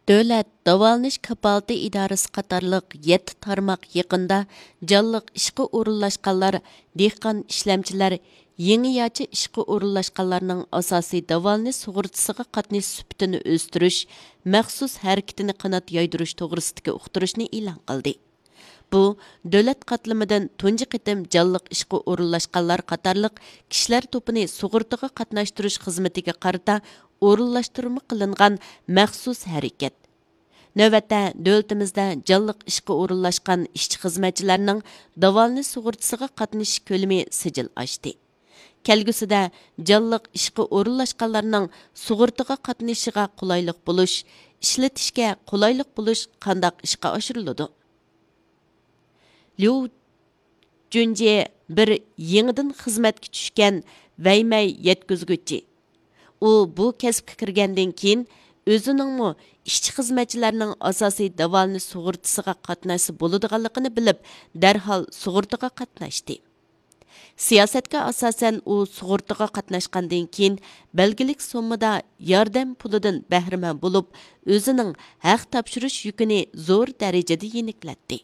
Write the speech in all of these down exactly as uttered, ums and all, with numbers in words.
دۆلەت داۋالىنىش كاپالىتى ئىدارىسى قاتارلىق يەتتە تارماق يېقىندا جانلىق ئىشقا ئورۇنلاشقانلار، دېھقان ئىشلەمچىلەر، يېڭىچە ئىشقا ئورۇنلاشقانلارنىڭ ئاساسىي داۋالىنىش سۇغۇرتىسىغا قاتنىشىش سۈپىتىنى ئۆستۈرۈش مەخسۇس ھەرىكىتىنى قانات يايدۇرۇش توغرىسىدىكى ئۇقتۇرۇشنى ئېلان قىلدى. بۇ دۆلەت قاتلىمىدىن تۇنجى قېتىم جانلىق ئىشقا ئورۇنلاشقانلار قاتارلىق كىشىلەر توپىنى سۇغۇرتىغا قاتناشتۇرۇش خىزمىتىگە قارىتا ئورۇنلاشتۇرما قىلىنغان مەخسۇس ھەرىكەت. نۆۋەتتە، دۆلىتىمىزدە جانلىق ئىشقا ئورۇنلاشقان ئىشچى-خىزمەتچىلەرنىڭ داۋالىنىش سۇغۇرتىسىغا قاتنىشىش كۆلىمى سىجىل ئاشتى. كەلگۈسىدە جانلىق ئىشقا ئورۇنلاشقانلارنىڭ سۇغۇرتىغا قاتنىشىشىغا قولايلىق بولۇش، ئىشلىتىشكە قولايلىق بولۇش قانداق ئىشقا ئاشۇرۇلىدۇ؟ ليۇ جۈنجې بىر يېڭىدىن خىزمەتكە چۈشكەن ۋەيمەي يەتكۈزگۈچى. ئۇ بۇ كەسىپكە كىرگەندىن كېيىن، ئۆزىنىڭمۇ ئىشچى-خىزمەتچىلەرنىڭ ئاساسىي داۋالىنىش سۇغۇرتىسىغا قاتناشسا بولىدىغانلىقىنى بىلىپ، دەرھال سۇغۇرتىغا قاتناشتى. سىياسەتكە ئاساسەن، ئۇ سۇغۇرتىغا قاتناشقاندىن كېيىن، بەلگىلىك سوممىدا ياردەم پۇلىدىن بەھرىمەن بولۇپ، ئۆزىنىڭ ھەق تاپشۇرۇش يۈكىنى زور دەرىجىدە يېنىكلەتتى.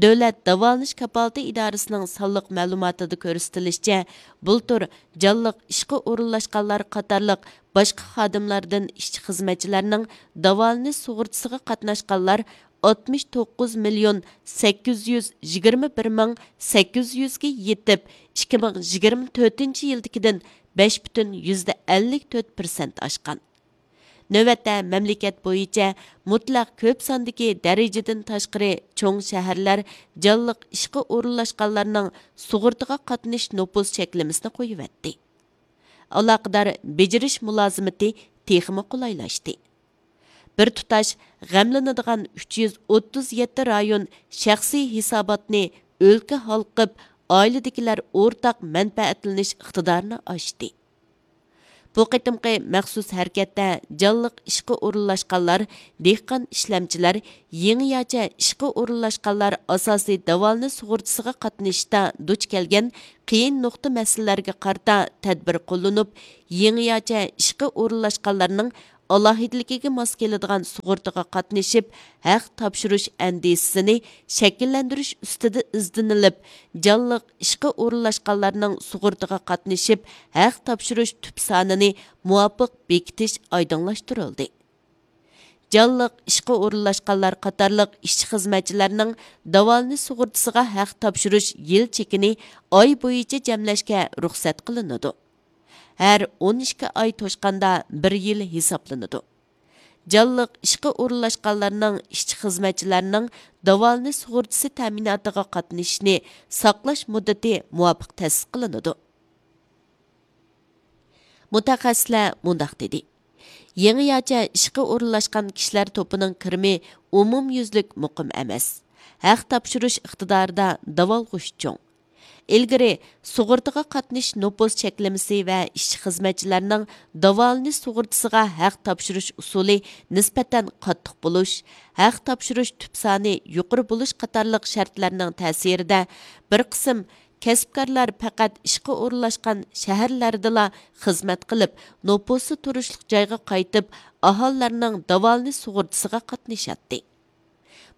دۆلەت داۋالىنىش كاپالىتى ئىدارىسىنىڭ سانلىق مەلۇماتىدا كۆرسىتىلىشىچە، بۇلتۇر جانلىق ئىشقا ئورۇنلاشقانلار قاتارلىق باشقا خادىملاردىن ئىشچى-خىزمەتچىلەرنىڭ داۋالىنىش سۇغۇرتىسىغا قاتناشقانلار ئاتمىش توققۇز مىليون سەككىز يۈز يىگىرمە بىر مىڭ سەككىز يۈزگە يېتىپ، ئىككى مىڭ يىگىرمە تۆتىنچى يىلدىكىدىن بەش پۈتۈن يۈزدە ئەللىك تۆت پىرسەنت ئاشقان. نۆۋەتتە مەملىكەت بويىچە مۇتلەق كۆپ ساندىكى دەرىجىدىن تاشقىرى چوڭ شەھەرلەر جانلىق ئىشقا ئورۇنلاشقانلارنىڭ سۇغۇرتىغا قاتنىشىش نوپۇس چەكلىمىسىنى قويۇۋەتتى. ئالاقىدار بېجىرىش مۇلازىمىتى تېخىمۇ قولايلاشتى. بىر تۇتاش غەملىنىدىغان ئۈچ يۈز ئوتتۇز يەتتە رايون شەخسىي ھېساباتنى ئۆلكە ھالقىپ، ئائىلىدىكىلەر ئورتاق مەنپەئەتلىنىش ئىقتىدارىنى ئاشتى. بۇ قېتىمقى مەخسۇس ھەرىكەتتە جانلىق ئىشقا ئورۇنلاشقانلار، دېھقان ئىشلەمچىلەر، يېڭىچە ئىشقا ئورۇنلاشقانلار ئاساسىي داۋالىنىش سۇغۇرتىسىغا قاتنىشىشتا دۇچ كەلگەن قىيىن نۇقتا مەسىلىلەرگە قارىتا تەدبىر قوللىنىپ، يېڭىچە ئىشقا ئورۇنلاشقانلارنىڭ ئالاھىدىلىكىگە ماس كېلىدىغان سۇغۇرتىغا قاتنىشىپ، ھەق تاپشۇرۇش ئەندىزىسىنى شەكىللەندۈرۈش ئۈستىدە ئىزدىنىلىپ، جانلىق ئىشقا ئورۇنلاشقانلارنىڭ سۇغۇرتىغا قاتنىشىپ، ھەق تاپشۇرۇش تۈپ سانىنى مۇۋاپىق بېكىتىش ئايدىڭلاشتۇرۇلدى. جانلىق ئىشقا ئورۇنلاشقانلار قاتارلىق ئىشچى-خىزمەتچىلەرنىڭ داۋالىنىش سۇغۇرتىسىغا ھەق تاپشۇرۇش يىل چېكىنى ئاي بويىچە جەملەشكە رۇخسەت قىلىنىدۇ. ھەر ئون ئىككى ئاي توشقاندا بىر يىل ھېسابلىنىدۇ. جانلىق ئىشقا ئورۇنلاشقانلارنىڭ، ئىشچى-خىزمەتچىلەرنىڭ داۋالىنىش سۇغۇرتىسى تەمىناتىغا قاتنىشىشنى ساقلاش مۇددىتى مۇۋاپىق تەسىس قىلىنىدۇ. مۇتەخەسسىسلەر مۇنداق دېدى: يېڭىچە ئىشقا ئورۇنلاشقان كىشىلەر توپىنىڭ كىرىمى ئومۇميۈزلۈك مۇقىم ئەمەس. ھەق تاپشۇرۇش ئىقتىدارىدا داۋالغۇش چوڭ. ئىلگىرى سۇغۇرتىغا قاتنىشىش نوپۇس چەكلىمىسى ۋە ئىشچى-خىزمەتچىلەرنىڭ داۋالىنىش سۇغۇرتىسىغا ھەق تاپشۇرۇش ئۇسۇلى نىسبەتەن قاتتىق بولۇش، ھەق تاپشۇرۇش تۈپ سانى يۇقىرى بولۇش قاتارلىق شەرتلەرنىڭ تەسىرىدە، بىر قىسىم كەسىپكارلار پەقەت ئىشقا ئورۇنلاشقان شەھەرلەردىلا خىزمەت قىلىپ، نوپۇسى تۇرۇشلۇق جايغا قايتىپ، ئاھالىلەرنىڭ داۋالىنىش سۇغۇرتىسىغا قاتنىشاتتى.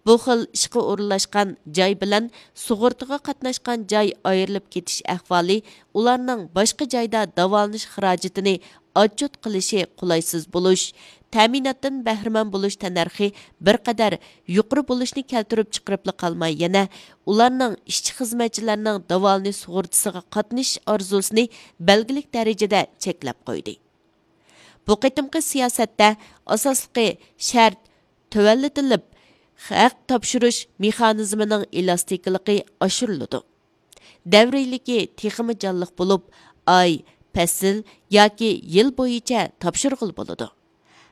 بۇ خىل ئىشقا ئورۇنلاشقان جاي بىلەن سۇغۇرتىغا قاتناشقان جاي ئايرىلىپ كېتىش ئەھۋالى ئۇلارنىڭ باشقا جايدا داۋالىنىش خىراجىتىنى ئاتچوت قىلىشى قولايسىز بولۇش، تەمىناتتىن بەھرىمەن بولۇش تەننەرخى بىر قەدەر يۇقىرى بولۇشنى كەلتۈرۈپ چىقىرىپلا قالماي، يەنە ئۇلارنىڭ ئىشچى-خىزمەتچىلەرنىڭ داۋالىنىش سۇغۇرتىسىغا قاتنىشىش ئارزۇسىنى بەلگىلىك دەرىجىدە چەكلەپ قويدى. بۇ قېتىمقى سىياسەتتە ئاساسلىقى شەرت تۆۋەنلىتىلىپ، ھەق تاپشۇرۇش مېخانىزمىنىڭ ئېلاستىكىلىقى ئاشۇرۇلىدۇ. دەۋرىيلىكى تېخىمۇ جانلىق بولۇپ، ئاي، پەسىل ياكى يىل بويىچە تاپشۇرغىلى بولىدۇ.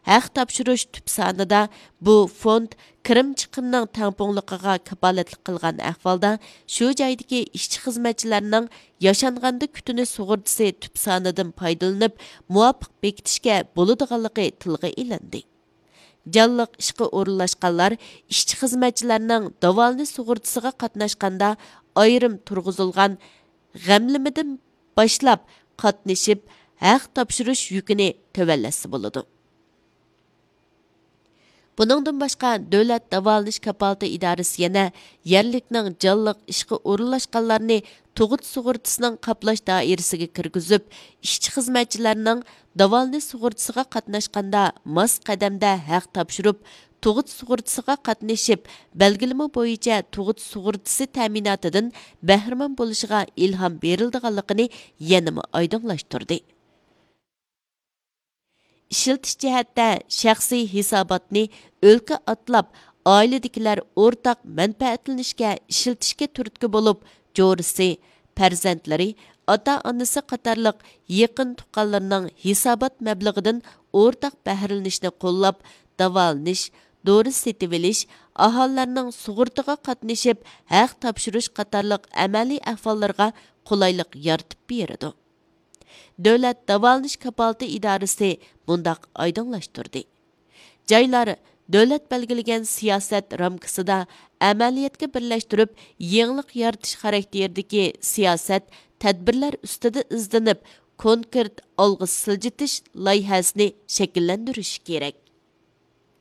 ھەق تاپشۇرۇش تۈپ سانىدا بۇ فوند كىرىم چىقىمنىڭ تەڭپۇڭلۇقىغا كاپالەتلىك قىلغان ئەھۋالدا، شۇ جايدىكى ئىشچى-خىزمەتچىلەرنىڭ ياشانغاندا كۈتۈنۈش سۇغۇرتىسى تۈپ سانىدىن پايدىلىنىپ، مۇۋاپىق بېكىتىشكە بولىدىغانلىقى تىلغا ئېلىندى. جانلىق ئىشقا ئورۇنلاشقانلار ئىشچى-خىزمەتچىلەرنىڭ داۋالىنىش سۇغۇرتىسىغا قاتناشقاندا ئايرىم تۇرغۇزۇلغان غەملىمىدىن باشلاپ قاتنىشىپ، ھەق تاپشۇرۇش يۈكىنى تۆۋەنلەتسە بولىدۇ. بۇنىڭدىن باشقا، دۆلەت داۋالىنىش كاپالىتى ئىدارىسى يەنە يەرلىكنىڭ جانلىق ئىشقا ئورۇنلاشقانلارنى تۇغۇت سۇغۇرتىسىنىڭ قاپلاش دائىرىسىگە كىرگۈزۈپ، ئىشچى-خىزمەتچىلەرنىڭ داۋالىنىش سۇغۇرتىسىغا قاتناشقاندا ماس قەدەمدە ھەق تاپشۇرۇپ، تۇغۇت سۇغۇرتىسىغا قاتنىشىپ، بەلگىلىمە بويىچە تۇغۇت سۇغۇرتىسى تەمىناتىدىن بەھرىمەن بولۇشىغا ئىلھام بېرىلىدىغانلىقىنى يەنىمۇ ئايدىڭلاشتۇردى. ئىشلىتىش جەھەتتە شەخسىي ھېساباتنى ئۆلكە ئاتلاپ، ئائىلىدىكىلەر ئورتاق مەنپەئەتلىنىشكە ئىشلىتىشكە تۈرتكە بولۇپ، جورىسى، پەرزەنتلىرى، ئاتا-ئانىسى قاتارلىق يېقىن تۇغقانلىرىنىڭ ھېسابات مەبلىغىدىن ئورتاق بەھرىلىنىشنى قوللاپ، داۋالىنىش، دورا سېتىۋېلىش، ئاھالىلەرنىڭ سۇغۇرتىغا قاتنىشىپ ھەق تاپشۇرۇش قاتارلىق ئەمەلىي ئەھۋاللىرىغا قولايلىق يارىتىپ بېرىدۇ. دۆلەت داۋالىنىش كاپالىتى ئىدارىسى مۇنداق ئايدىڭلاشتۇردى: جايلار دۆلەت بەلگىلىگەن سىياسەت رامكىسىدا ئەمەلىيەتكە بىرلەشتۈرۈپ، يېڭىلىق يارىتىش خاراكتېرىدىكى سىياسەت، تەدبىرلەر ئۈستىدە ئىزدىنىپ، كونكرېت ئالغا سىلجىتىش لايىھەسىنى شەكىللەندۈرۈشى كېرەك.